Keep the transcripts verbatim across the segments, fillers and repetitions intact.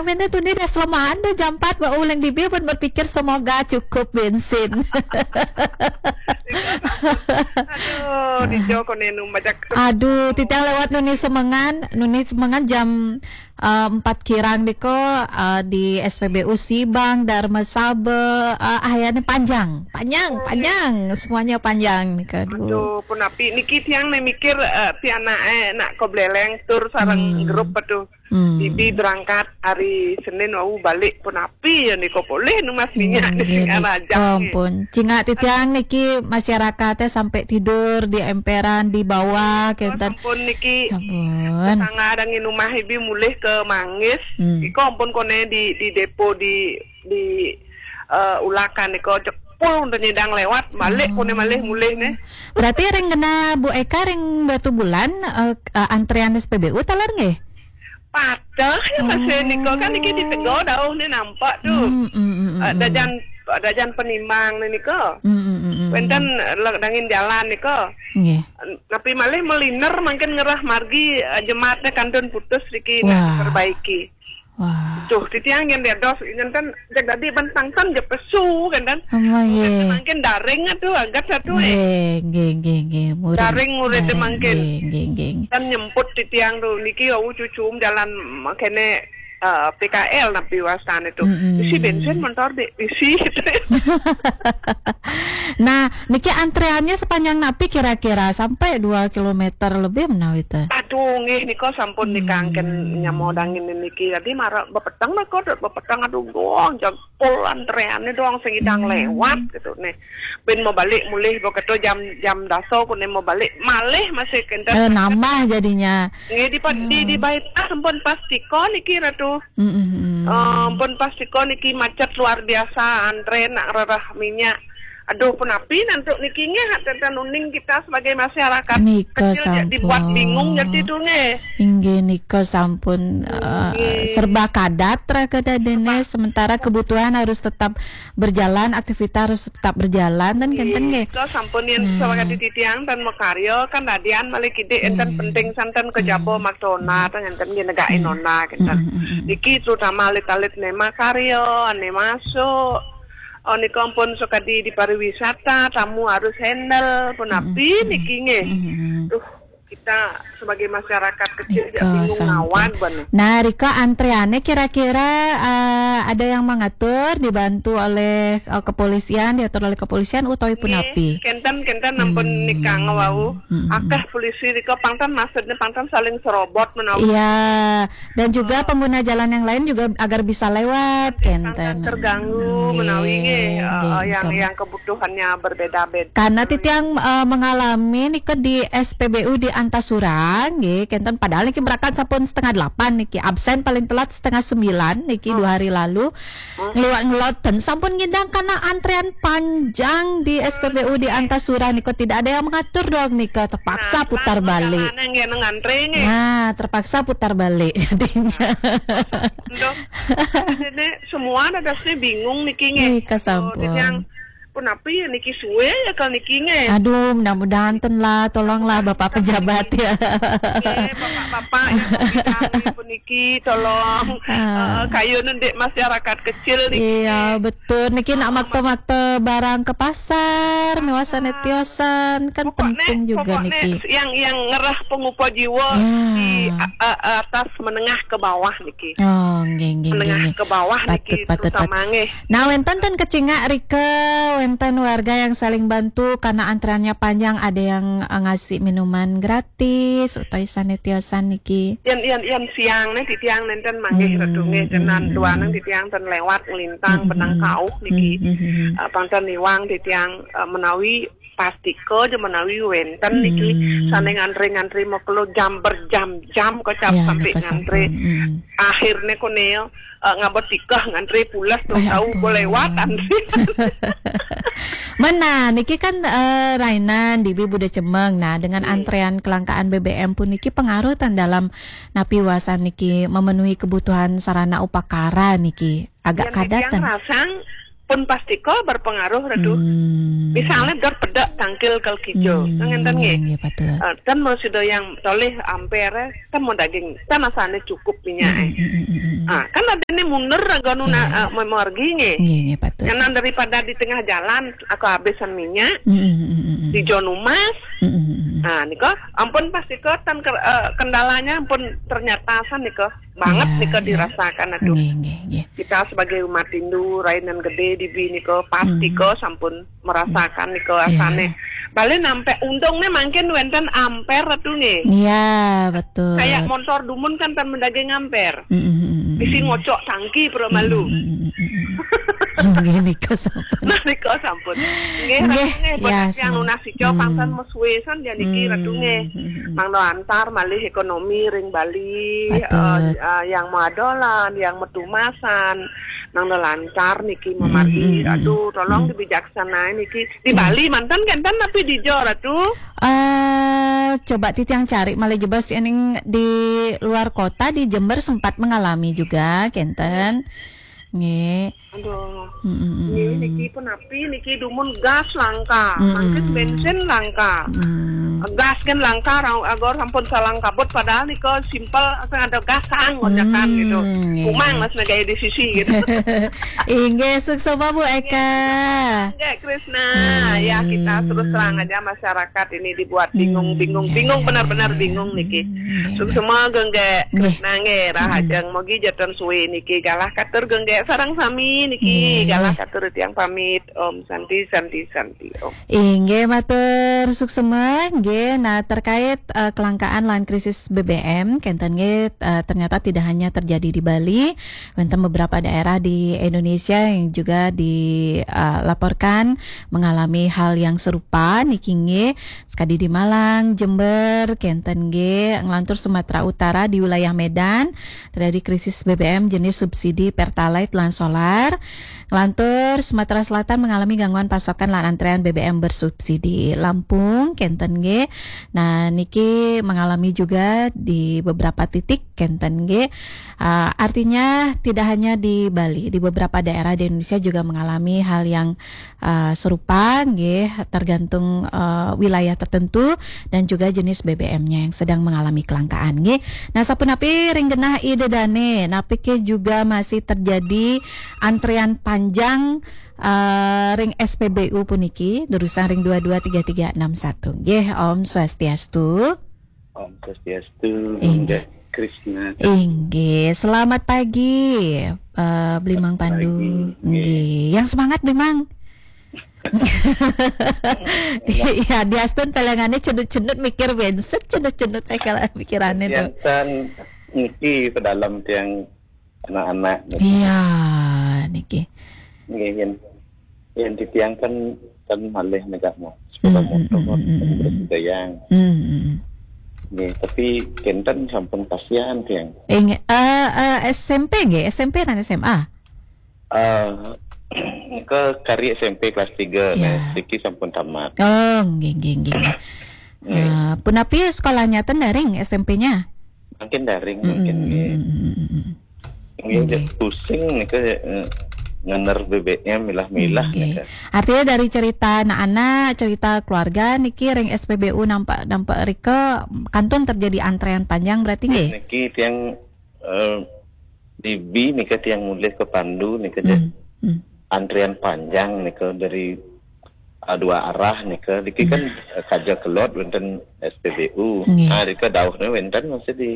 Minta tuni dah selamaan dah jam empat ba uling bibi pun berpikir semoga cukup bensin. Aduh, di Joko nenu majak. Aduh, titiang lewat nuni semengan, nuni semengan jam uh, empat kirang diko uh, di S P B U Sibang, Dharma Sabe, uh, ayahnya panjang, panjang, panjang, semuanya panjang nih aduh. Aduh, pun api niki tiang nih mikir uh, piana eh nak ko beleng tur sarang hmm. grup aduh. Hmm. Bibi berangkat hari Senin wau balik pun api ya niko poleh nu mas minyak hmm, niki arajang. Ampun. Cingak titiang niki masyarakatnya sampai tidur di emperan di bawah kenten. Ampun niki. Ampun. Sanga ada nginumah ibi mulih ke Manggis. Hmm. Iko ampun kone di di depo di di uh, Ulakan niko jepul untuk nyidang lewat balik oh. Kone malih mulih nih. Berarti ring kena Bu Eka ring Batu Bulan uh, uh, antrean S P B U talar nggih? Padahal ya masih oh. Niko kan iki ditegur dauh ni nampak tu. Mm, mm, mm, mm, uh, dajan dajan penimang ni niko. Mm, mm, mm, mm. Wenten dangin jalan niko. Nggih. Tapi malih meliner mungkin ngerah margi uh, jemaatnya kantun putus riki nak perbaiki. Wah. Tuh, titiang yang dia dos ingin kan jadi bentang kan je pesu kan kan. Oh, yeah. Mungkin daring tu agak satu eh. Nggih, nggih, nggih. Daring murid mungkin. Nggih, nggih. Dan nyemput titiang tu niki au cucum jalan makene uh, P K L napi wastan itu. Mm-hmm. Isi bensin motor dek isi. Nah, niki antreannya sepanjang napi kira-kira sampai dua kilometer lebih menawi teh. Aduh, nggih nika sampun hmm. Nikangken nyamo dangin niki. Jadi marah bepeteng meko bepeteng aduh gong jempol antreannya doang sing idang hmm. Lewat gitu nih. Ben mau balik mulih beketo jam jam daso kune mau balik malih masih kenten. Eh, nambah jadinya. Nggih di, hmm. Di di baita sampun pas tiko niki ratu. Mm -hmm. Uh, pun pas tiko niki macet luar biasa antre nak rerah minyak. Aduh, penapi nantuk niki nggih hak tenten uning kita sebagai masyarakat nika kecil sampun. Dibuat bingung jadi tu nggih. Inggih nika sampun uh, serba kadat ra kedadene sementara kebutuhan harus tetap berjalan, aktivitas harus tetap berjalan dan kenten nggih. Nika sampun yang nah. Sebagai titiang dan makarya kan dadian malih kidik enten hmm. Penting santen ke jabo hmm. Maktona hmm. Enten nggih negake hmm. Nona kenten. Hmm. Hmm. Niki terutama alit-alit nema karya, nema masuk. Oh, nika ampun sukadi di pariwisata, tamu harus handle, punapi hmm. Niki nggih. Hmm. Duh, kita sebagai masyarakat kecil ya bingung ngawan bener. Nah, Rika antreannya kira-kira uh, ada yang mengatur dibantu oleh uh, kepolisian, diatur oleh kepolisian utawi punapi? Kenten kenten nampun hmm. Nikang wau. Hmm. Akeh polisi Rika pangtan maksudnya pangtan saling serobot menawi. Iya. Dan juga oh. Pengguna jalan yang lain juga agar bisa lewat kenten. Terganggu menawi nggih eh, yang yang kebutuhannya berbeda-beda. Karena titiang uh, mengalami nika di S P B U di Antasura nggih kenten padahal niki berangkat sampun setengah delapan niki absen paling telat setengah sembilan niki hmm. Dua hari lalu hmm. Ngeluat ngeloten sampun ngidang karena antrean panjang di S P B U di Antasura nika tidak ada yang mengatur dong nika terpaksa nah, putar balik. Nah, terpaksa putar balik jadinya. Semua ada dasnya bingung niki nggih. Nika sampun. Yang pun apa ya niki suwe ya kalau niki nggih. Aduh, mudah-mudahan ten lah, tolonglah Bapak pejabat ya. Nggih, Bapak-bapak yang niki tolong ah. Uh, kayu nanti masyarakat kecil niki. Iya, betul. Niki nak makta-makta barang ke pasar, mewasane tiosan kan pokoknya, penting juga pokoknya niki. Yang yang ngerah pengupa jiwa ya. Di uh, uh, atas menengah ke bawah niki. Oh, nggih nggih. Menengah nggih. Ke bawah patut, niki patut, terutama patut. Nggih. Nah, wenten ten kecingak Rika, wenten warga yang saling bantu karena antreannya panjang, ada yang uh, ngasih minuman gratis, utawi sane tiosan niki. Yen yen yen siang ne titiang nenten manggih hmm, redunge tenan hmm, duaneng hmm. Titiang ten lewat ngelintang hmm, benang hmm. Kauh niki. Hmm, hmm, hmm. Uh, pangten niwang titiang uh, menawi pastika aja menawi wenten hmm. Niki sane ngantri-ngantri mekelo jam berjam-jam kocap ya, sampai ngantri. Hmm. Akhirnya koneo uh, ngabot tikah ngantri pulas tuh tahu boleh lewat antri. Mana niki kan uh, rainan di Buda Cemeng. Nah, dengan hmm. Antrean kelangkaan B B M pun niki pengaruh tan dalam napi wasan niki memenuhi kebutuhan sarana upakara niki. Agak kadatan. Rasang pun pasti ko berpengaruh, Ratu. Hmm. Misalnya dot pedek tangkil kal kijo. Hmm, ngenten nggih, nggih. Nggih, betul. Eh, ten mau sudah yang toleh amper, eh, ten mau daging, ten asane cukup minyak, eh. Hmm, hmm, hmm, hmm, hmm. Ah, kan ada nih mundur, agak nuna, iya, eh, memargi nggih. Nggih, nggih, betul. Karena daripada di tengah jalan, aku habisan minyak, hmm, hmm, hmm, hmm, hmm, di John Umas. Hmm, hmm, hmm, hmm. Ah, niko, ampun pasti ko, ten ke-, eh, kendalanya ampun ternyata san niko. Banget, iya, nika, iya, dirasakan, aduh. Nggih, nggih, nggih. Kita sebagai umat Hindu, rainan gede di bi nika, pasti, hmm, ko sampun merasakan nika, iya, asane. Balik nampe untungnya mungkin wenten amper, Ratu, nggih. Iya, betul. Kayak motor dumun kan tan mendaging amper. Mm, mm, mm, mm, mm. Isi ngocok tangki, pura malu. Mm, mm, mm, mm, mm. Nggih, nika sampun. Nah, nika sampun. Nggih, nggih, Ratu, nggih, ya, buat yang semua. Nunas ijo, hmm, pangsan suwe san ya niki, hmm, Ratu, nggih. Hmm, hmm, hmm. Mangda lancar malih ekonomi ring Bali, betul, eh, eh, yang madolan, yang metumasan, mangda lancar niki, hmm, memargi. Hmm, hmm, hmm. Aduh, tolong, hmm, dibijaksanain niki. Di, hmm, Bali manten kenten tapi di Jo, Ratu? Eh, coba titiang cari malih jebos ening di luar kota, di Jember sempat mengalami juga kenten. Nggih. Aduh. Mm, mm, mm, nggih, mm. Niki pun api, niki dumun gas langka, mm, mm, mungkin bensin langka. Mm. Gas kan langka, rau-, agor sampun salang kabut, padahal nika simpel, asal ada gas, saang, konjakan, mm, gitu. Nggih. Kumang, mas, negaya di sisi, gitu. Inggih, suksma, Bu Eka. Nggih, Krisna. Hmm. Ya, kita terus terang aja, masyarakat ini dibuat bingung, hmm, bingung, ya, bingung, ya, benar-benar ya, ya, bingung niki. Hmm, ya, ya. Suksma, Gengge. Nggih. Krisna, nggih, hmm, rahajeng. Mogi jatan suwe niki. Galah katur, Gengge, sareng sami niki. Nggih. Galah katur tiang pamit. Om Santi, Santi, Santi, Om. Inggih, matur suksma, nggih. Nah, terkait, eh, kelangkaan lan krisis B B M, kenten nggih, eh, ternyata tidak hanya terjadi di Bali, wenten beberapa daerah di Indonesia yang juga di, eh, laporkan mengalami hal yang serupa, niki nggih. Sekadi di Malang, Jember, kenten nggih, nglantur Sumatera Utara di wilayah Medan, terjadi krisis B B M jenis subsidi Pertalite lan solar. Nglantur, Sumatera Selatan mengalami gangguan pasokan lan antrean B B M bersubsidi. Lampung, kenten nggih. Nah, niki mengalami juga di beberapa titik, kenten nggih. Ah, artinya tidak hanya di Bali, di beberapa daerah di Indonesia juga mengalami hal yang, ah, serupa nggih, tergantung, eh, wilayah tertentu dan juga jenis B B M-nya yang sedang mengalami kelangkaan nggih. Nah, sapunapi ring genah ida dane, napi ke juga masih terjadi antrean panjang, eh, ring S P B U puniki, durusang ring dua dua tiga tiga enam satu. Nggih, Om Swastiastu. Om Swastiastu, inggih. Bunda Krisna. Inggih, selamat pagi, eh, Bli Mang Pandu. Selamat pagi. Nggih. Nggih. Yang semangat, Bli Mang. Iya, diastun pelengane cenut-cenut mikir wenset, cenut-cenut, eh, kalau pikirane tuh. Yang tan niki ke dalam tiang anak-anak, gitu. Iya, niki. Nggih, yen, yen titiang kan, kan malih negak mo. Sepeda, mm, motor, mm, mm, mm, mm, bersudayang. Mm, mm, mm. Nggih, tapi kenten sampun kasihan tiang. Inggih, eh, eh, S M P nggih, S M P lan S M A? Eh, ke kari S M P kelas tiga, iya, nah, siki sampun tamat. Oh, nggih, nggih, nggih. Nggih. Eh, punapi sekolahnya ten daring S M P-nya? Mungkin daring, mm, mungkin, mm, nggih. Mm, mm, mm, mm. Nggih, nggih. Pusing nika, eh, ngener B B M milah-milah, nggih, nika. Artinya dari cerita anak-anak, cerita keluarga niki ring S P B U nampak, nampak rika kantun terjadi antrean panjang berarti nggih? Niki tiang, eh, di bi nika tiang mulih ke Pandu nika je. Hmm, hmm. Antrean panjang nika dari, eh, dua arah nika. Niki kan, hmm, eh, kaja kelot wenten S P B U. Nggih. Ah, rika dauhnya wenten masih di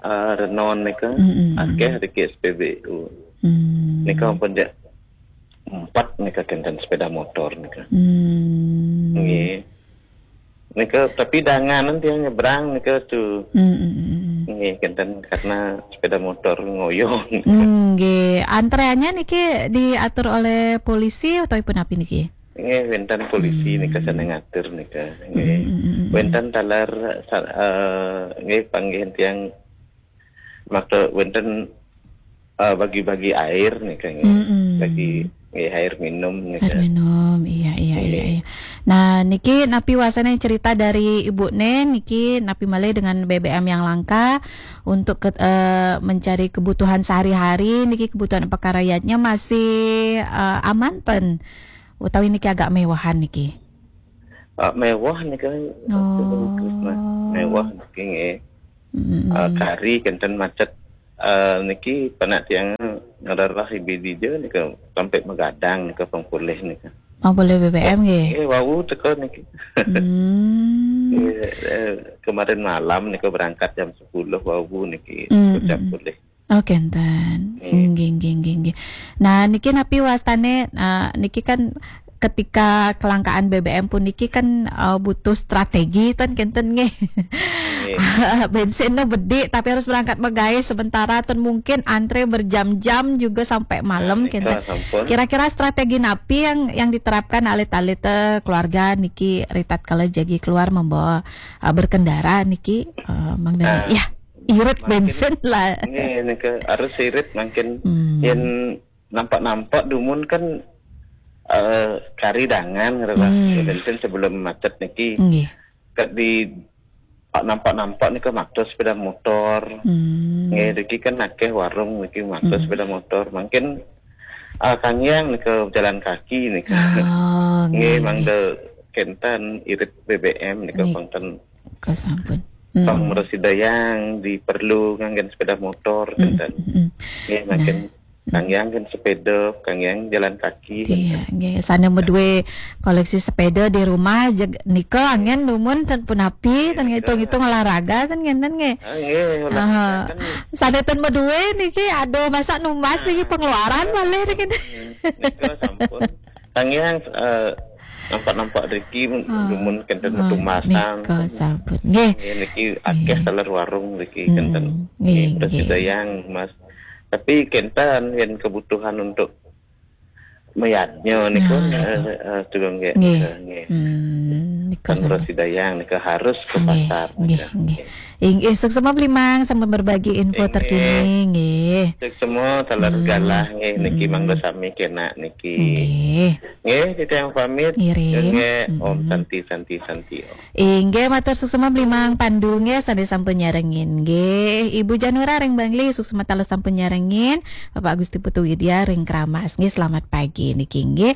ah, renon nika, mm, mm, mm, akeh riki S P B U. Mm. Nika ampun jak empat nika kenten sepeda motor nika. Mm. Nggih. Nika tapi danganan tiang nyebrang nika tu. Mm, mm, mm, mm. Nggih, kenten karena sepeda motor ngoyo. Mm, nggih. Antreannya niki diatur oleh polisi atau ipun api niki? Nggih, wenten polisi, mm, nika sane ngatur nika. Nggih. Mm, mm, mm, mm. Wenten taler sa-, eh, nggih, panggih tiang makta wenten, eh, bagi-bagi air nika, nggih. Mm, mm. Bagi, nggih, air minum nika. Air minum, iya, iya, iya, nggih, iya. Nah, niki napi wasane cerita dari Ibu ne, niki napi malih dengan B B M yang langka untuk ke, eh, mencari kebutuhan sehari-hari, niki kebutuhan pekarayatnya masih, eh, aman ten? Utawi niki agak mewahan niki? Ah, mewah niki, Oh. Krisna. Mewah niki nggih. Mm-mm. Ah, kari kenten macet. Ah, niki panak tiang ngererah ibi dija nika sampai magadang nika pang polih nika. Oh, polih B B M nggih. Eh, wau teka niki. Hmm. Iya, eh, kemarin malam nika berangkat jam sepuluh wau niki Mm-mm. jam polih. Oh, kenten. Iya. Nggih, nggih, nggih, nggih. Nah, niki napi wastane, eh, niki kan ketika kelangkaan B B M pun niki kan, eh, butuh strategi ten kenten nggih. Nggih. Bensinnya bedik tapi harus berangkat megawe sementara ten mungkin antre berjam-jam juga sampai malam Nah, nika kenten. Sampun. Kira-kira strategi napi yang yang diterapkan alit-alit, eh, keluarga niki ritat kala jagi keluar membawa, eh, berkendara niki, eh, Mang Dani? Nah, ya, irit mungkin bensin lah. Nggih, nika harus irit mungkin Hmm. Yen nampak-nampak dumun kan, eh, kari dangan ngerti lah. Hmm. Bensin sebelum macet niki. Nggih. Kat di nampak-nampak nika makta sepeda motor. Hmm. Nggih, niki kan akeh warung niki makta Hmm. sepeda motor. Mungkin, ah, kangyang nika jalan kaki nika. Oh, nggih, nggih, nggih. Mangda kenten irit B B M nika Nggih. Pangten Kasampun. Pang Mm-mm. Meresidayang diperlu nganggen sepeda motor Mm-mm. Kenten. Mm-mm. Nggih, mungkin Nah. Kangyang kan sepeda, kangyang jalan kaki, Iya, kan. Nggih. Sane medue koleksi sepeda di rumah jeg nika angin dumun ten punapi, ten Iya. Ngitung-ngitung olahraga ten ngenten nggih. Ah, nggih, olahraga Aha. Kan. Sane ten medue niki aduh masa numbas niki Nah, pengeluaran nika malih sampun. Niki. Nika sampun. Kangyang, eh, nampak-nampak riki Ah, dumun kenten ah, metu masang. Nika sampun. Nggih. Nggih, niki akeh Nggih. Taler warung riki Mm-mm. Kenten. Nggih, nggih, nggih. Prasida yang Mas. Tapi kenten yen kebutuhan untuk mayadnya niku, Nah, eh, niku. Eh, tugong nggih. Nggih. Eh, nggih. Hmm, niku Kan sampun. Prasida yang nika harus ke Nggih, pasar nggih, nika. Nggih. Inggih, suksma Bli Mang sampun berbagi info Inggih. Terkini, nggih. Suksma taler Hmm, galah nggih niki mm-mm. Mangda sami kena niki. Nggih. Nggih, titiang pamit. Ngiring. Nggih, Om Mm-mm. Santi, Santi, Santi, Om. Inggih, matur suksma Bli Mang Pandu nggih sane sampun nyarengin nggih. Ibu Janura ring Bangli suksma taler sampun nyarengin. Bapak Gusti Putu Widya ring Kramas nggih, selamat pagi niki nggih.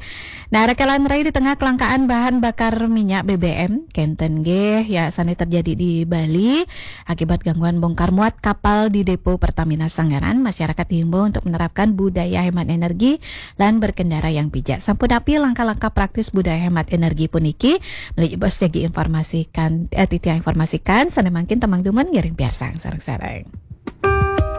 Nah, rekan rai di tengah kelangkaan bahan bakar minyak B B M kenten nggih ya sane terjadi di Bali akibat gangguan bongkar muat kapal di Depo Pertamina Sanggaran, masyarakat diimbau untuk menerapkan budaya hemat energi lan berkendara yang bijak. Sampun napi langkah-langkah praktis budaya hemat energi puniki? Meli bos jagi informasikan, eh, titiang informasikan, sane mangkin temang dumun ngiring piarsang sareng-sareng.